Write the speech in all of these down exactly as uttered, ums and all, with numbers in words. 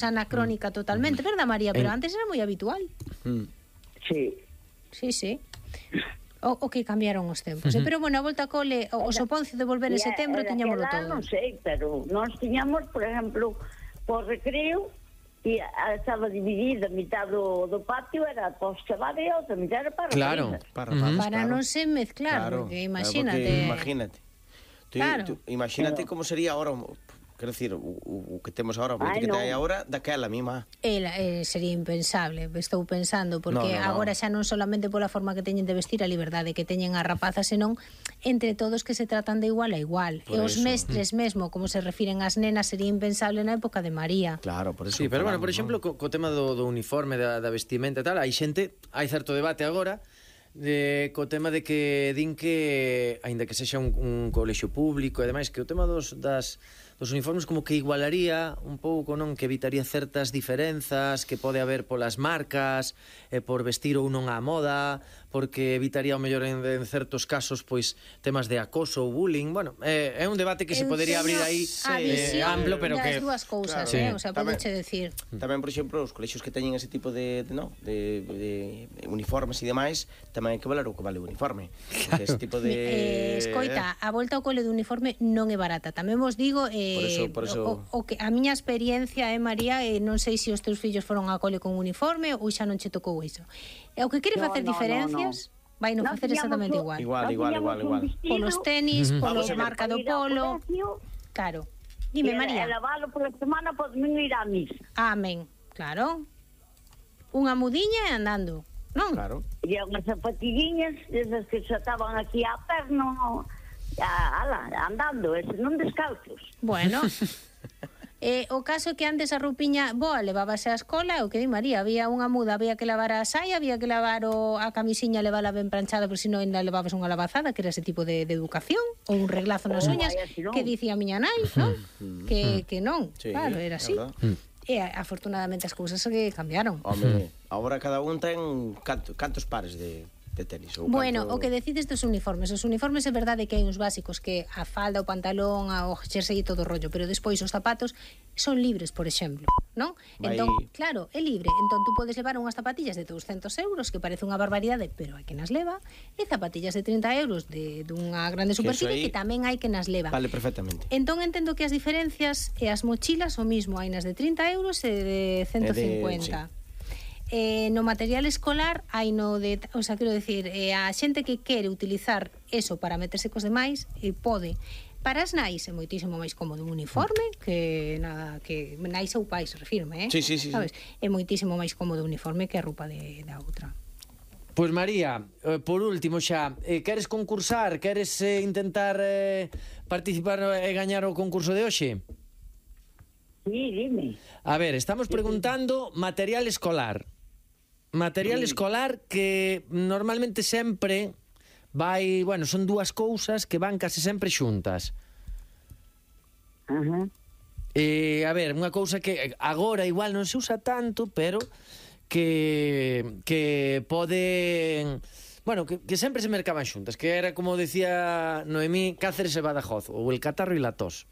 anacrónica totalmente, verdad, María? Pero antes era moi habitual. Sí. Sí, sí. O, o que cambiaron os tempos. Uh-huh. Pero, bueno, a volta a cole, o, o soponcio de volver en setembro, tiñámoslo todo. Non sei, pero nós tiñamos, por exemplo, por recreo, e estaba dividida, a mitad do, do patio era para os chavales e a outra mitad era para claro, para, uh-huh. para claro. non se mezclar, claro, porque imagínate. Claro, porque imagínate. Tú, claro. tú, imagínate claro. como sería ahora... Quero dicir, o, o que temos agora, o que no. hai agora, daquela mima. Ela, eh, sería impensable, estou pensando, porque no, no, no. agora xa non solamente pola forma que teñen de vestir a liberdade que teñen as rapazas, senón entre todos que se tratan de igual a igual. Por e os eso. mestres mesmo, como se refiren ás nenas, sería impensable na época de María. Claro, por eso. Sí, pero bueno, por exemplo, co, co tema do, do uniforme, da, da vestimenta e tal, hai xente, hai certo debate agora, de, co tema de que din que, aínda que sexa un, un colexio público e demais, que o tema dos, das... os uniformes como que igualaría un pouco, non? Que evitaría certas diferenzas que pode haber polas marcas, eh, por vestir ou non á moda, porque evitaría o mellor en, en certos casos pois temas de acoso ou bullying. Bueno, eh, é un debate que se podería abrir aí eh, amplo, pero que... as dúas cousas, claro, eh? O sea, podeche decir... Tamén, por exemplo, os colexios que teñen ese tipo de, de, no, de, de uniformes e demais, tamén hai que valer o que vale o uniforme. Claro. Ese tipo de... Eh, escoita, a volta ao cole de uniforme non é barata. Tamén vos digo... Eh, Por eso, por eso... O, o que a miña experiencia, eh, María, eh, non sei se os teus fillos foron a cole con uniforme ou xa non che tocou iso. E o que quere no, facer no, diferencias, no, no. vai non facer exactamente igual. Igual, igual, igual, igual. Polos tenis, uh-huh. polo marca do polo. Claro. Dime, María. E lavalo por semana por non ir a misa. Amén. Claro. Unha mudiña e andando, non? Claro. E unhas zapatiguiñas, esas que xa estaban aquí á perna, ala, andando, ese non descalzos. Bueno, eh, o caso que antes a roupiña boa levábase á escola, o que di María, había unha muda, había que lavar a saia, había que lavar o, a camisiña, levala ben planchada, por si non ainda levabas unha lavazada, que era ese tipo de, de educación, ou un reglazo nas oh, uñas, si no. que dicía a miña nai, non? que, que non, sí, claro, era así. E afortunadamente as cousas que cambiaron. Home, agora cada un ten canto, cantos pares de... de tenis ou bueno, canto... o que decides dos uniformes. Os uniformes é verdade que hai uns básicos que a falda, o pantalón, o jersey e todo o rollo, pero despois os zapatos son libres, por exemplo, non? Vai... Entón, claro, é libre. Entón tú podes levar unhas zapatillas de douscentos euros, que parece unha barbaridade, pero hai que nas leva, e zapatillas de trinta euros de dunha grande superficie, que, que tamén hai que nas leva. Vale, perfectamente. Entón entendo que as diferencias e as mochilas o mismo, hai nas de trinta euros e de ciento cincuenta. De... Sí. Eh, no material escolar hai no de, o sea, quero decir, eh, a xente que quere utilizar eso para meterse cos demais, eh, pode. Para as nais é moitísimo máis cómodo un uniforme que nada, que nais ou pais, refirme, eh? Sí, sí, sí, sabes? Sí. É moitísimo máis cómodo un uniforme que a roupa de, da outra. Pois María, eh, por último xa, eh, queres concursar, queres eh, intentar eh, participar e gañar o concurso de hoxe? Sí, dime. A ver, estamos preguntando material escolar. Material sí. escolar que normalmente sempre vai, bueno, son dúas cousas que van case sempre xuntas. Ajá. Uh-huh. Eh, a ver, unha cousa que agora igual non se usa tanto, pero que que pode, bueno, que, que sempre se mercaban xuntas, que era como decía Noemí, Cáceres e Badajoz, ou el catarro e la tos.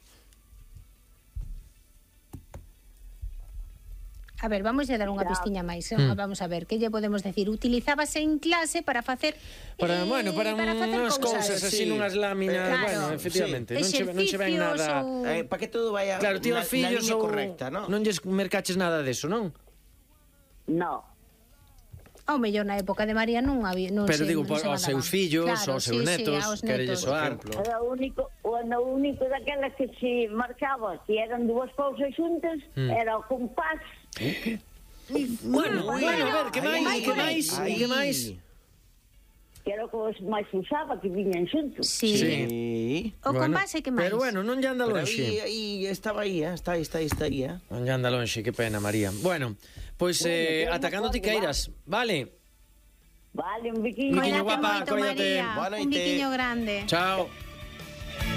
A ver, vamos a dar unha pistiña máis, eh? mm. Vamos a ver, que lle podemos decir? Utilizábase en clase para facer para, eh, bueno, para, para facer unhas cousas así, sí. nunhas láminas, eh, claro, bueno, efectivamente, sí. non, che, non che ven nada ou... eh, para que todo vaya claro, tío, na, fillos na ou... correcta, ¿no? Non lles mercaches nada deso, non? No. Ao mellor na época de María non había, non pero se, digo, non aos seus fillos, claro, aos seus sí, netos, sí, querelles soar. Era o único, o único daquela que se marcaba, que eran dúas cousas xuntas, mm. era o compás. ¿Eh? Bueno, bueno, bueno, a ver, que máis, que máis, que máis? Que era o que máis usaba, que viñan xuntos. Sí. sí. O bueno, compás é que máis. Pero bueno, non lle anda lonxe. Aí, aí estaba aí, eh? está aí, está aí, está aí, eh? Non lle anda lonxe, que pena, María. Bueno, pois pues, eh, atacando ti queiras, vale? Vale, un biquiño. Un biquiño guapa, coídate. Un biquiño grande. Chao.